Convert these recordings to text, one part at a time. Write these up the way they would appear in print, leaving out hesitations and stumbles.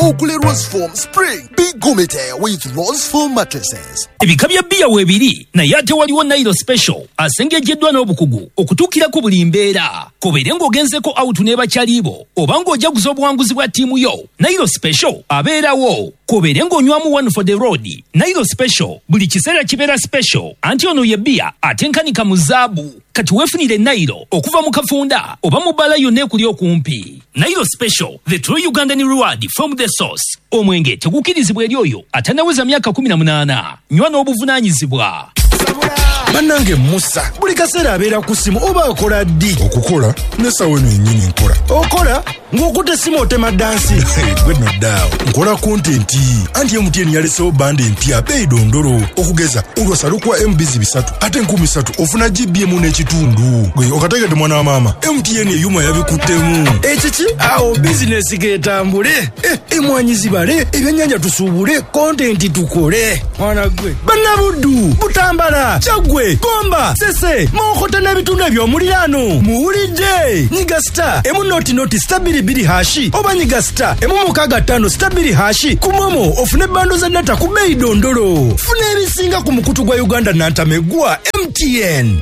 Ogule Rose Foam Spring. Be gumite with Rose Foam mattresses. Ebika bya bbiya weebiri, naye ate waliwo Nairo Special asengejjeddwa n'obukugu okutuukira ku buli mbeera. Kobeere ng'ogenzeko out ne bakyalibo oba ng'ojaguza obuwanguzi bwa ttiimu yo, Nairo Special abeerawo. Kobeere ng'onywamu one for the road, Nairo Special buli kiseera kibeera special, anti ono ye bbiya atenkanika mu zaabu. Kati weefunire Nairo okuva mu kafunda oba mu bbaala yonna ekuli okumpi. Nairo Special, the true Ugandan reward from the source. Omwenge tegukkirizibwa eri oyo atannaweza myaka 18. Nywa n'obuvunaanyizibwa. Bannange, Musa buli kaseera abeera ku ssimu, oba akola ddi? Okukola n'essaawa eno yennyini nkola. Okola ng'okutta essimu, otema dance? Gwe nno ddaawo, nkola content. Anti MTN yalesewo bundle empya beeyi dondolo. Okugeza olwasa lukuwa MBs 300, ate 3000 ofuna GB 1 n'ekitundu. Gwe okategedde, mwana wa maama, MTN eyuma yabikuttemu. Ekiki awo, bizinesi getambule, emwanyi zibale, ebyennyanja tusuubule, content tukole. Mwana gwe, bannabuddu, Butambala, Kyaggwe, Gomba, Sese, Mawokota n'ebitundu eby'omuliraano, muwulidde. Nyiga *100*2 #, oba nyiga *165*2# ku MoMo ofune bundle za data ku bbeeyi dondolo. Funa ebisinga ku mukutu gwa Uganda nantamegwa MTN.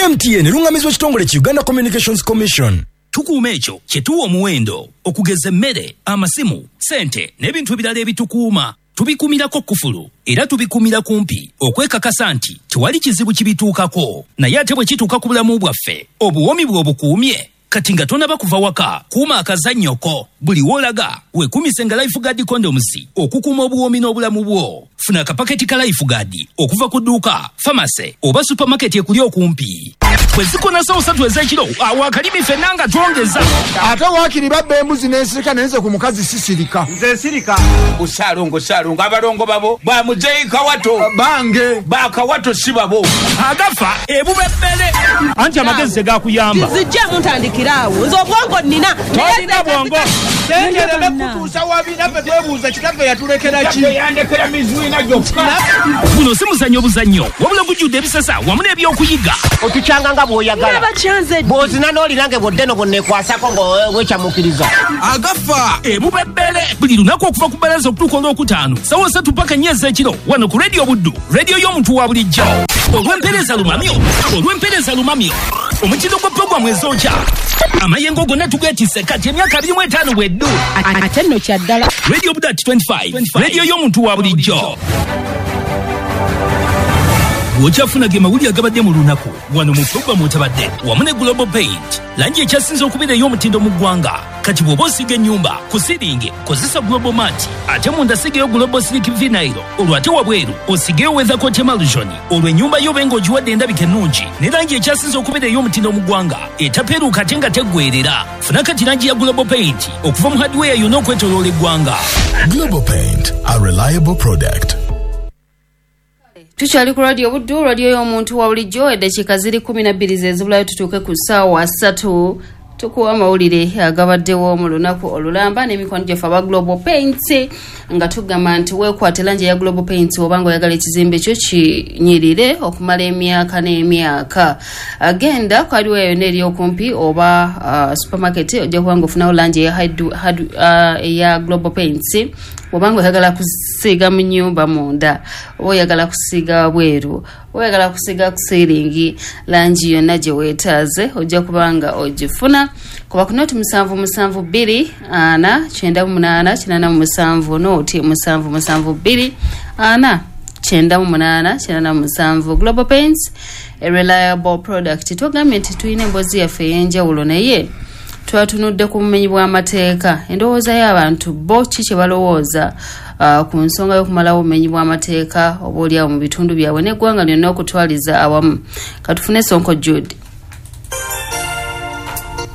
MTN erungamizibwa ekitongole ki Uganda Communications Commission. Tukuuma ekyo kye tuwa omuwendo, okugeza emmere, amasimu, sente n'ebintu ebirala ebitukuuma. Tubikuumirako kufulu era tubikuumira kumpi okwekakasa nti tewali kizibu kibituukako. Naye ate bwe kituuka ku bulamu bwaffe, obuwoomi bwe obukuumye? Kati nga tonaba kuva waka, kuuma akazannyoko. Buli w'olaga weekuumise nga Life Guard condoms okukuuma obuwoomi n'obulamu bwo. Funa akapaketi ka Life Guard okuva ku dduuka, pharmacy oba supermarket ekuli okumpi. Bwe zikona sawo 3 ez'ekiro, awo akalimi ffenna nga twongeza. Ate waakiri babba embuzi n'ensirika, naye nze ku mukazi sisirika. Nze sirika. Saalongo, saalongo, abalongo babo bamuzeyi Kawato. Bange. Bakawato si babo. Agafa ebubebbere, anti amagezi tegakuyamba. Nzijjemu ntandikira awo, nze obwongo nnina. Tolina bwongo. Sentereme kutuusa wabi, naffe twebuuza kitaffe yatulekera ki? Yandekera mizwina gyokka. Guno si muzannyo buzannyo, wabula gujjudde ebisasa wamu n'ebyokuyiga. Otukyanga nga bw'oyagala. Bakyanze. Bw'ozina n'olinange bwodde no bwonneekwasako ng'wekyamukiriza. Agafa ebubebbere, buli lunaku okuva ku bbalaza okutuuka Olwokutaano sawa 3 paka 4 ez'ekiro, wano ku Rediyo Buddu, rediyo y'omuntu wa bulijjo. Olw'empeereza lumamyo, olw'empeereza lumamyo, omutindo gwa puroguramu ezookya, amayengo gonna tugeetisse kati emyaka 25 bweddu. Ate nno kyaddala. Radio Buddu at 25, rediyo y'omuntu wa bulijjo. Bw'okyafuna ge mawulire agabadde mu lunaku wano mu puroguramu otabadde wamu ne Global Paint, langi ekyasinze okubeera ey'omutindo mu ggwanga. Kati bw'oba osiiga ennyumba, ku ceiling kozesa Global Mat, ate munda sigeyo Global Silk Vinyl, olwo ate wabweru osigeyo Weathercoat Emulsion, olwo ennyumba yo obe ng'ogiwadde endabika ennungi ne langi ekyasinze okubeera ey'omutindo mu ggwanga, etapeeruuka ate nga teggweerera. Funa kati langi ya Global Paint okuva mu hardware yonna okwetoloola eggwanga. Global Paint, a reliable product. Tukyali ku Radio Buddu, radio y'omuntu wa bulijjo. Eddakiika ziri 12 zezibulayo tutuuke ku ssaawa 3, tukuwa amawulire agabaddewo mu lunaku olulamba n'emikono gyaffe aba Global Paints, nga tugamba nti weekwate langi eya Global Paints obanga oyagala ekizimbe kyo kinyirire okumala emyaka n'emyaka. Agenda ku hardware yonna eri okumpi oba supermarket, ojja kuba nga ofunawo langi eya Global Paints. Obanga oyagala kusiiga mu nyumba munda, oba oyagala kusiiga wabweru, oba oyagala kusiiga ku ceiling, langi yonna gye weetaaze ojja kuba nga ogifuna. Kuba ku 077 24 98 87, 077 24 98 87. Global Paints, a reliable product. Tugambye nti tulina emboozi yaffe ey'enjawulo, naye twatunudde ku bumenyi bw'amateeka, endowooza y'abantu bo ki kye balowooza ku nsonga y'okumalawo obumenyi bw'amateeka oba oliawo mu bitundu byabwe n'eggwanga lyonna okutwaliza awamu. Katufune Sonko Jude.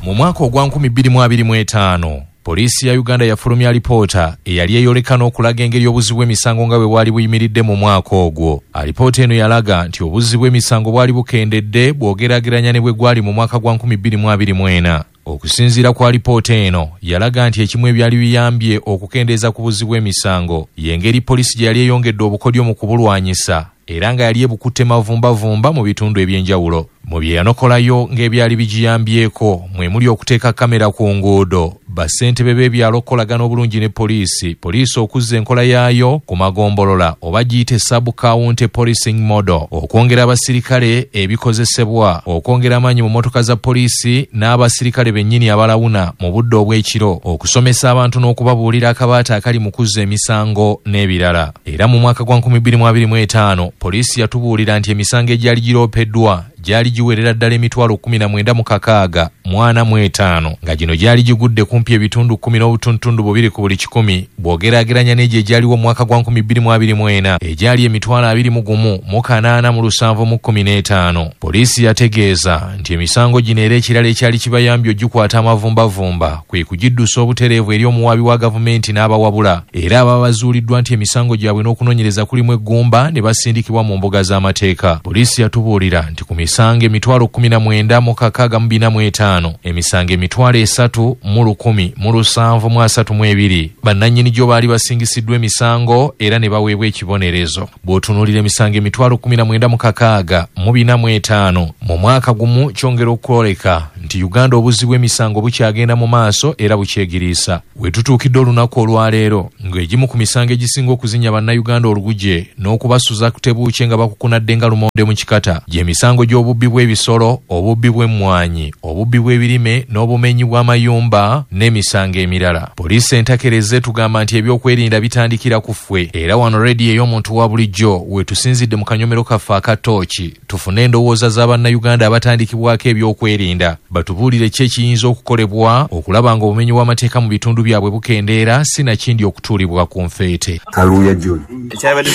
Mu mwaka ogwa 2025, poliisi ya Uganda yafulumya alipoota eyali eyoleka n'okulaga engeri obuzzi bw'emisango nga bwe bwali buyimiridde mu mwaka ogwo. Alipoota eno yalaga nti obuzzi bw'emisango bwali bukendedde bw'ogeraageranya ne bwe gwali mu mwaka gwa 2024. Okusinziira ku alipoota eno, yalaga nti ekimu ebyali biyambye okukendeeza ku buzzi bw'emisango y'engeri poliisi gye yali eyongedde obukodyo mu kubulwanyisa, era nga yali ebukutte mavumbavumba mu bitundu eby'enjawulo. Mu bye yanokolayo ng'ebyali bigiyambyeko mwe muli okuteeka kamera ku nguudo, Bassentebe b'ebyalo okukolagana obulungi ne poliisi, poliisi okuzza enkola yaayo ku magombolola oba giyite sub-county policing model, okwongera abasirikale ebikozesebwa, okwongera amaanyi mu mmotoka za poliisi n'abasirikale bennyini abalawuna mu budde obw'ekiro, okusomesa abantu n'okubabuulira akabaata akali mu kuzza emisango n'ebirala. Era mu mwaka gwa 2025 poliisi yatubuulira nti emisango egyali giroopeddwa gyali giwerera ddala emitwalo 19,645, nga gino gyali gigudde kumpi ebitundu 10.2 ku buli kikumi bw'ogeraageranya n'egyo egyaliwo mu mwaka gwa 2024 egyali emitwalo 21,875. Poliisi yategeeza nti emisango gino era ekirala ekyali kibayambye ogikwata amavumbavumba kwe kugiddusa obutereevu eri omuwaabi wa gavumenti n'abawabula, era ababa bazuuliddwa nti emisango gyabwe n'okunoonyereza kulimu eggumba ne basindikibwa mu mbuga z'amateeka. Poliisi yatubuulira nti ku misango emitwalo 19,645, emisango emitwalo 3,173 bannannyini gyo baali basingisiddwa emisango era ne baweebwa ekibonerezo. Bw'otunuulira emisango emitwalo 19,645 mu mwaka gumu, kyongera okwoleka nti Uganda obuzzi bw'emisango bukyagenda mu maaso era bukyegiriisa. We tutuukidde olunaku olwaleero ng'egimu ku misango egisinga okuzinya bannayuganda oluguje n'okubasuza kutebuukye nga bakukunadde nga lumonde mu kikata gy'emisango gy'obubbi bw'ebisolo, obubbi bw'emmwanyi, obubbi bw'ebirime n'obumenyi bw'amayumba n'emisango emirala. Poliisi entakereze tugamba nti ebyokwerinda bitandikira ku ffwe, era wano rediyo ey'omuntu wa bulijjo we tusinzidde mu kanyomero kaffe aka ttooki tufune endowooza z'abannayuganda abatandikibwako ebyokwerinda, batubuulire ki ekiyinza okukolebwa okulaba nga obumenyi bw'amateeka mu bitundu byabwe bukendeera, sinakindi okutuulibwa ku nfeete. Kaluuya John, ekyabadde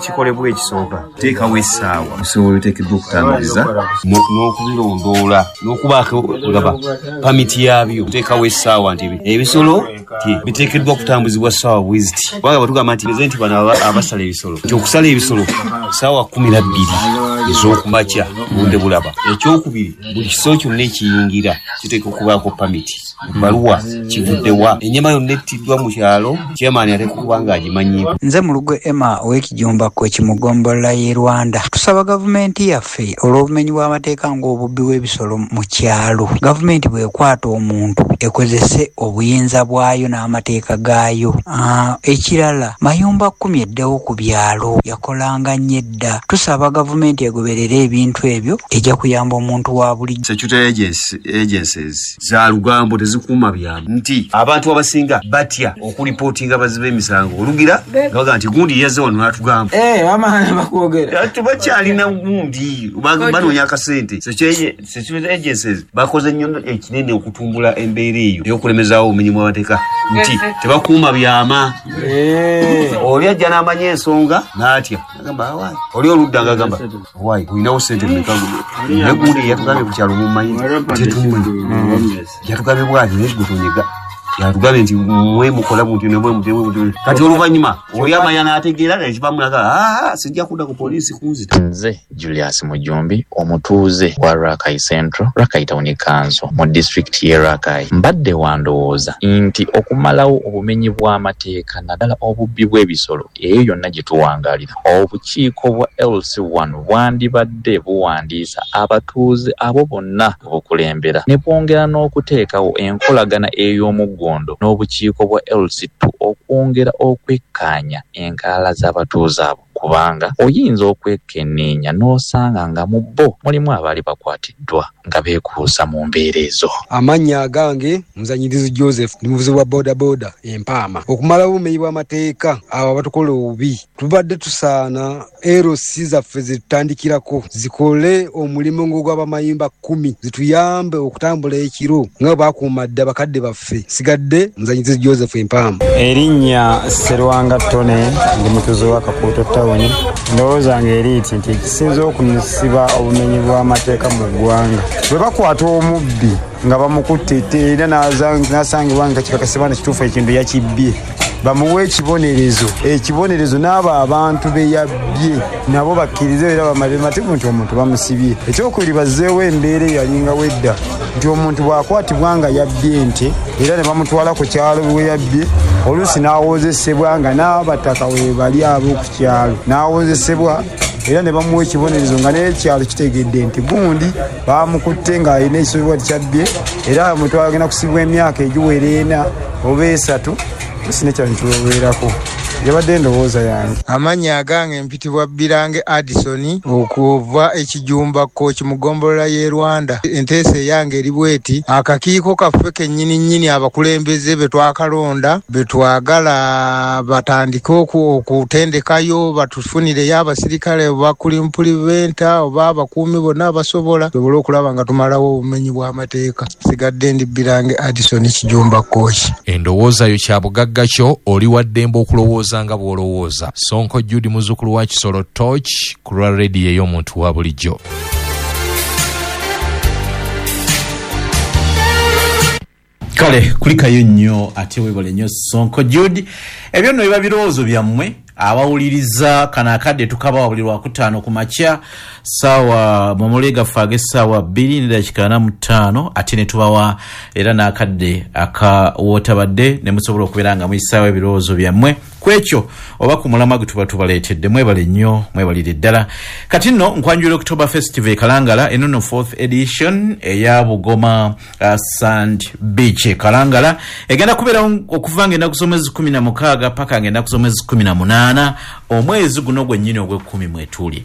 kikolebwa ekisooka teekawo essaawa ebisolo biteekeddwa okutambuliza n'okubirondoola n'okubaako gaba pamiti yaabyo. Teekawo essaawa nti ebisolo biteekeddwa okutambuzibwa ssaawa bweziti, kubanga batugamba nti nti bano abasala ebisolo nti okusala ebisolo ssaawa 12 ez'okumakya budde bulaba. Ekyokubiri, buli kisolo kyonna ekiyingira kiteekwa okubaako pamiti, ebbaluwa kivuddewa, ennyama yonna ettiddwa mu kyalo chairman ateekwa okuba ng'agimanyiiko. Nze Mulugwe Emma ow'Ekijumba Kweki mu ggombolola y'e Rwanda. Tusaba gavumenti yaffe olw'obumenyi bw'amateeka ng'obubbi bw'ebisolo mu kyalo, gavumenti bw'ekwata omuntu ekozese obuyinza bwayo n'amateeka gaayo. Ekirala, mayumba 10 eddewo ku byalo yakolanga nnyo edda. Tusaba gavumenti egoberere ebintu ebyo, ejja kuyamba omuntu wa bulijjo. Security agencies za lugambo tezikuuma byama, nti abantu abasinga batya okulipootinga baziba emisango olugira nga bagamba nti gundi yazze wano n'atugamba tebakyalina gundi, banoonya akasente. Security agencies bakoze nnyo ekinene okutumbula embeera eyo ey'okulemezaawo obumenyi bw'amateeka nti tebakuuma byama. Oli ajja n'amanya ensonga n'atya agamba awaayi, oli oludda ng'agamba awaayi olinawo ssente mmeka, naye gundi yatugambye ku kyalo mummanyi tetumanyi, yatugambye bw'ati naye gwe tonyega, yatugambye nti mwe mukola bunti ne mwe mutyo. Kati oluvannyuma oli amanya n'ategeera nekibamulaga sijja kudda ku poliisi kunzita. Nze Julius Mujumbi, omutuuze wa Rakai Central, Rakai Town Council mu disitulikiti y'e Rakai. Mbadde wandowooza nti okumalawo obumenyi bw'amateeka naddala obubbi bw'ebisolo eyo yonna gye tuwangaalira, obukiiko bwa LC1 bwandibadde buwandiisa abatuuze abo bonna obukulembera ne bwongera n'okuteekawo enkolagana ey'omuggondo n'obukiiko bwa LC2 okwongera okwekkaanya enkalala z'abatuuze abo, kubanga oyinza okwekenneenya n'osanga nga mu bo mulimu abaali bakwatiddwa nga beekuusa mu mbeera ezo. Amannya agange Muzanyirizi Joseph, ndi muvuzi wa bodaboda empaama. Okumalawo obumenyi bw'amateeka abo abatukola obubi, tubadde tusaana LC zaffe zitutandikirako zikole omulimu ng'ogw'abamayumba 10 zituyambe okutambula ekiro nga bakuuma dda bakadde baffe. Sigadde Muzanyirizi Joseph empaama. Erinnya Serwanga Tone, ndi mutuuze wa Kakuuto Town. Ndowooza ng'eri nti ekisinza okusiba obumenyi bw'amateeka mu ggwanga, bwe bakwata omubbi nga bamukutte era n'asangibwa nga kikakasibwa nti kituufu ekintu yakibbye, bamuwe ekibonerezo. Ekibonerezo n'abo abantu be yabbye nabo bakkirize era bamale mativu nti omuntu bamusibye. Ekyokubiri, bazzeewo embeera eyalingawo edda nti omuntu bw'akwatibwa nga yabbye ente era ne bamutwala ku kyalo we yabbye, oluusi n'awozesebwa nga n'abataka we bali ab'oku kyalo, n'awozesebwa Era ne bamuwa ekibonerezo nga n'ekyalo kitegedde nti gundi bamukutte ng'alina ekisobebwa kyabbye, era omuntu agenda kusibwa emyaka egiwera 4 oba 3, sina kyalo kiweweerako. Yabadde endowooza yange. Amannya agange mpitibwa Birange Addison okuva Ekijumba Kooki mu ggombolola y'e Rwanda. Enteesa eyange eri bweti: akakiiko kaffe kennyini nnyini, abakulembeze be twakalonda be twagala batandike okutendekayo, batufunireyo abasirikale oba kulimpuliventa oba abakuumi bonna abasobola, tusobole okulaba nga tumalawo obumenyi bw'amateeka. Sigadde ndi Birange Addison, Kijumba Kooki. Endowooza yo kyabugagga kyo, oli wa ddembe okulowooza nga bw'olowooza. Sonko Jude, muzzukulu wa Kisolo Torch, ku lwa rediyo ey'omuntu wa bulijjo. Kale kulikayo nnyo ate weebale nnyo Sonko Jude. Ebyo nno biba birowoozo byammwe abawuliriza. Kano akadde tukabawa buli Lwakutaano ku makya saawa mumule gaffe ag'essaawa 2:45, ate ne tubawa era n'akadde akawootabadde ne musobola okubeera nga muyisaawo ebirowoozo byammwe ku ekyo oba ku mulamwa gwe tuba tubaleetedde. Mwebale nnyo, mwebalire ddala. Kati nno nkwanjula October Festival e Kalangala. Eno nno fourth edition eya Bugoma Sand Beach e Kalangala egenda kubeerawo okuva nga ennaku z'omwezi 16 paka nga ennaku z'omwezi 18 omwezi guno gwennyini ogw'ekkumi mwetuli.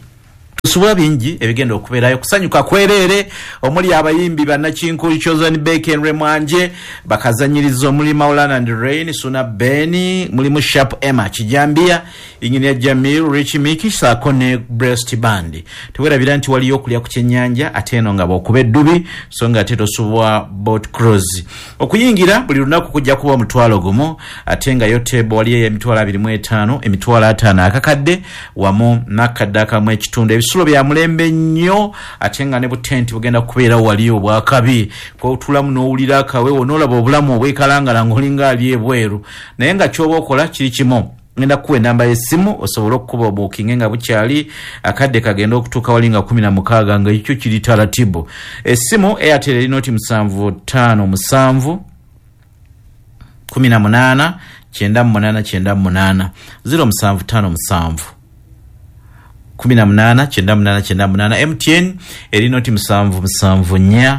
Tusubula bingi ebigenda okubeerayo, kusanyuka kwereere, omuli abayimbi bannakinku Chosen Beken Mwanje, bakazanyiriza omuli Maulana and Rain, Suna Beni, mulimu Sharp Emma Kijambia, Engineer Jamil, Rich Miki saako ne Breast Band. Tewerabira nti waliyo okulya ku kyennyanja, ate eno nga bw'okuba eddubi, so nga ate tosubwa boat cruise. Okuyingira buli lunaku kujja kuba 10,000, ate nga yo table waliyo ey'emitwalo 25, 50,000, akakadde wamu n'akadde akamu ekitundu. Ebisulo bya mulembe nnyo, ate nga ne butenti bugenda kubeerawo wali obwakabi kotulamu n'owulira akawewo n'olaba obulamu obwekalangala ng'olinga ali ebweru. Naye nga ky'oba okola kiri kimu, ngenda kukuwa enamba y'essimu osobole okukuba obuukinge nga bukyali, akadde kagenda okutuuka wali nga 16 nga ekyo kiri taratibu. Essimu Airtel eri 0757 18 98 98, 0757 18 98 98. MTN eri 0774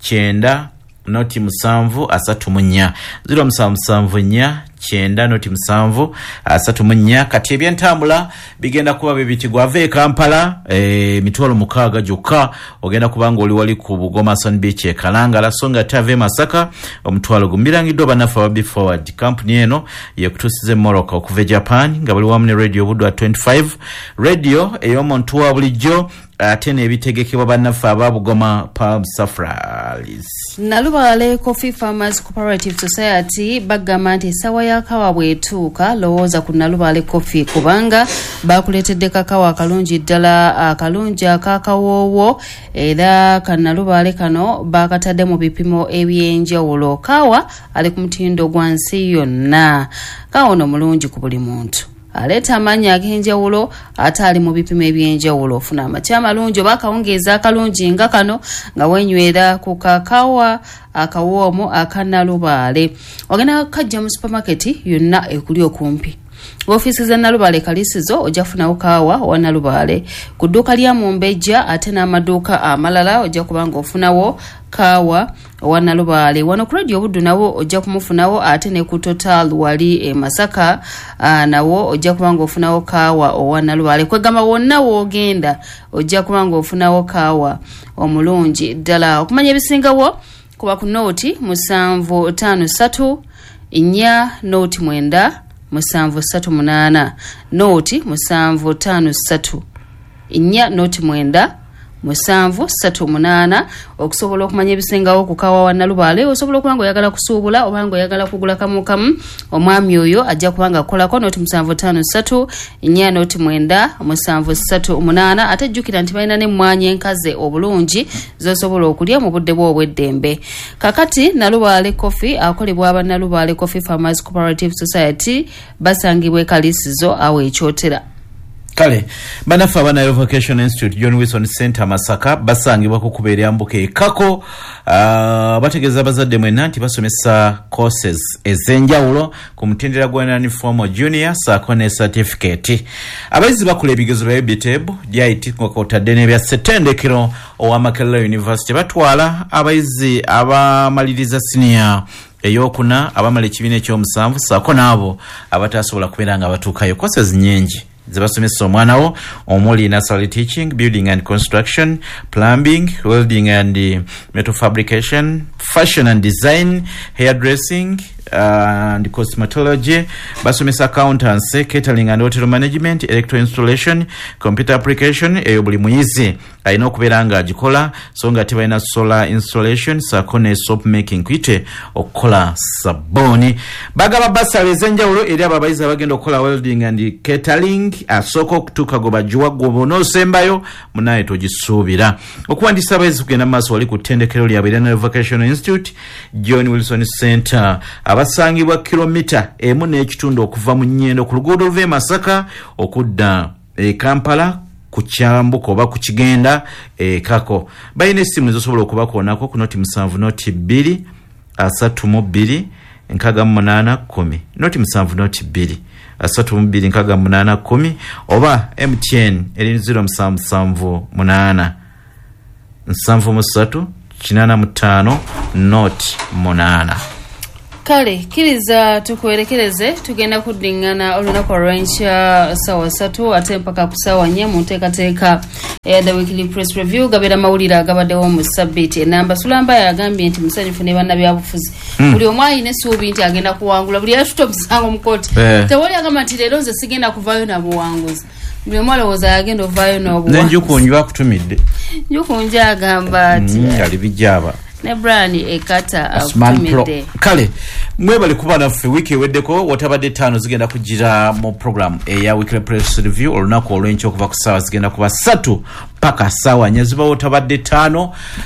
90 07 34, 0774 90 07 34. Kati ebyentambula bigenda kuba bibiti: ava e Kampala 60,000 gyokka, ogenda kuba nga oli wali ku Bugoma Sand Beach e Kalangala, so nga ate ava e Masaka 10,000. Birangiddwa bannaffe aba Be Forward. Kampuni eno yekutuusiza emmotoka okuva e Japan nga bali wamu ne Radio Budwa 25, radio ey'omuntu wa bulijjo, ate n'ebitegekebwa bannaffe aba Bugoma Palm Safaris. Nalubaale Coffee Farmers Cooperative Society bagamba nti essaawa ya kawa bw'etuuka, lowooza ku Nalubaale Coffee, kubanga bakuleetedde kakawa akalungi ddala, akalungi akakawoowo, era kanalubaale kano bakatadde mu bipimo ebyenjawulo. Kawa ali ku mutindo gwa nsi yonna. Kawa ono mulungi ku buli muntu, aleeta amaanyi ag'enjawulo ate ali mu bipimo ebyenjawulo. Ofuna amakya amalungi oba akawungeezi akalungi nga kano nga wenywera ku kakawa akawoomu akanalubaale. Ogenda kajja mu supamaketi yonna ekuli okumpi. Ofiisi za Nalubaale Kalisizo ojja kufunawo kaawa owa Nalubaale, ku dduuka lya Mumbejja ate n'amaduuka amalala ojja kuba nga ofunawo kaawa owa Nalubaale. Wano ku Radio Buddu nawo ojja kumufunawo, ate ne ku Total wali e Masaka nawo ojja kuba nga ofunawo kaawa owa Nalubaale. Kwegamba wonna woogenda ojja kuba nga ofunawo kaawa omulungi ddala. Okumanya ebisingawo kuba ku 0753 4 09 738, 0753 4 09 738, okusobola okumanya ebisingawo ku kawa wa Nalubaale. Osobola okuba nga oyagala kusuubula oba nga oyagala kugula kamu kamu, omwami oyo ajja kuba nga akolako 0753 4 09 738. Ate jjukira nti balina n'emmwanyi enkaze obulungi z'osobola okulya mu budde bwo obw'eddembe. Kakati Nalubaale Coffee akolebwa aba Nalubaale Coffee Farmers Cooperative Society, basangibwa e Kalisizo awo Ekyotera. Kale bannaffe aba Nile Vocation Institute, John Wilson Center, Masaka, basangibwa ku kkubo eryambuka ekako. Bategeeza abazadde mwenna nti basomesa courses ez'enjawulo ku mutendera gwa non-formal, junior saako ne certificate. Abayizi bakola ebigezo bya UBTEB, DIT nga kwotadde n'ebya ssetendekero owa Makerere University. Batwala abayizi abamaliriza siniya eyokuna, abamala ekibiina ekyomusanvu saako n'abo abatasobola kubeera nga batuukayo. Courses nyingi zebasomesa omwana wo, omuli nursery teaching, building and construction, plumbing, welding and metal fabrication, fashion and design, hairdressing and cosmetology. Basomesa accountancy, catering and hotel management, electrical installation, computer application. Eyo buli muyizi alina okubeera nga agikola, so nga tebalina solar installation saako ne soap making, kuyite okukola sabbuuni. Bagaba basale ez'enjawulo eri abo abayizi abagenda okukola welding and catering. Asooka okutuuka gwe bagiwa, gwe bonoosembayo munaye togisuubira. Okuwandiisa abayizi kugenda mu maaso wali ku ttendekero lyabwe era Nile Vocational Institute, John Wilson Center, abasangibwa kilomita 1.5 okuva mu Nyendo ku luguudo oluva e Masaka okudda e Kampala, ku kyambuka oba ku kigenda ekako. Balina essimu ezosobola okubakoonako ku 07 02 32 68 10, 07 02 32 68 10, oba MTN eri 0778 73 85 08. Kale kkiriza tukwerekereze, tugenda kuddiŋŋana olunaku olw'enkya 3:00 ate mpaka ku 4:00 mu nteekateeka eya The Weekly Press Review. Gabeera mawulire agabaddewo mu sabbiiti enamba. Sulamba yagambye nti musanyufu ne bannabyabufuzi. Buli omu alina essuubi nti agenda kuwangula. Buli yatuta omusango mu kooti, tewali agamba nti leero nze sigenda kuvaayo na buwanguzi. Buli omu alowooza yagenda ovaayo n'obuwanguzi. Nenjukunju akutumidde. Njukunju agamba ati Ali bijaba ne Brian Ekata Osman Pro. akutumidde. Kale mwebale kuba naffe wiiki eweddeko. Watabadde 5 zigenda kugira mu program eya Weekly Press Review olunaku olw'enkya okuva ku ssaawa zigenda kuba 3 paka 4:00 ziba watabadde 5.